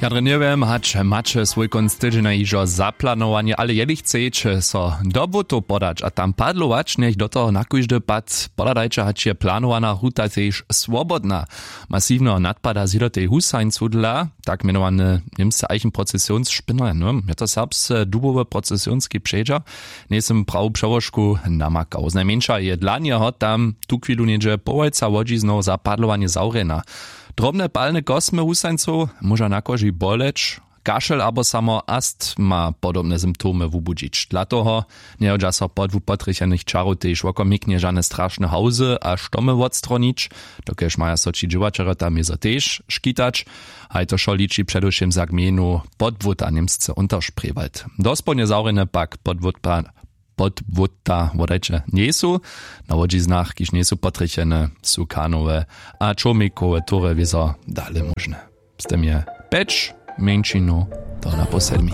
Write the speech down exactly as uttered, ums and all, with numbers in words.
Ja drje njewěm, hač maće swój kónc tydźenja hižo zaplanowanje, ale jeli chceće so do błótow podać a tam padlować, njech do toho na kóždy pad pohladajće, hač je planowana ruta tež swobodna. Masiwneho nadpada zjidotej husańcu dla tak mjenowany němsce eichenprocesionsspinner, no je to serbsce dubowy procesionski předźer. Njejsym prawu přełožku namakał, znajmjeńša je dla njeho tam tuchwilu něhdźe połojca łodźiznow za padlowanje zawrjena. Drobne palne kosmy husańcow móža na koži boleć, kašel abo samo astma podobne symptomy wubudźić. Dla toho njehodźa so podłu potrjechenych čarow tež wokomiknje žane strašne hałzy a štomy wotstronić, dokelž maja so ći dźěłaćerjo tam jezo tež škitać. Haj to wšo liči předewšěm za gmejnu Podwóta, němsce Unterspreewald. Dospołnje zawrjene pak Podwóta, Podwóta wodajće njejsu. Na łodźiznach, kiž njejsu potrjechene, su kanowe a čołmikowe tury wězo dale móžne. Z tym je pjeć mjeńšinow, to na pół sedmi.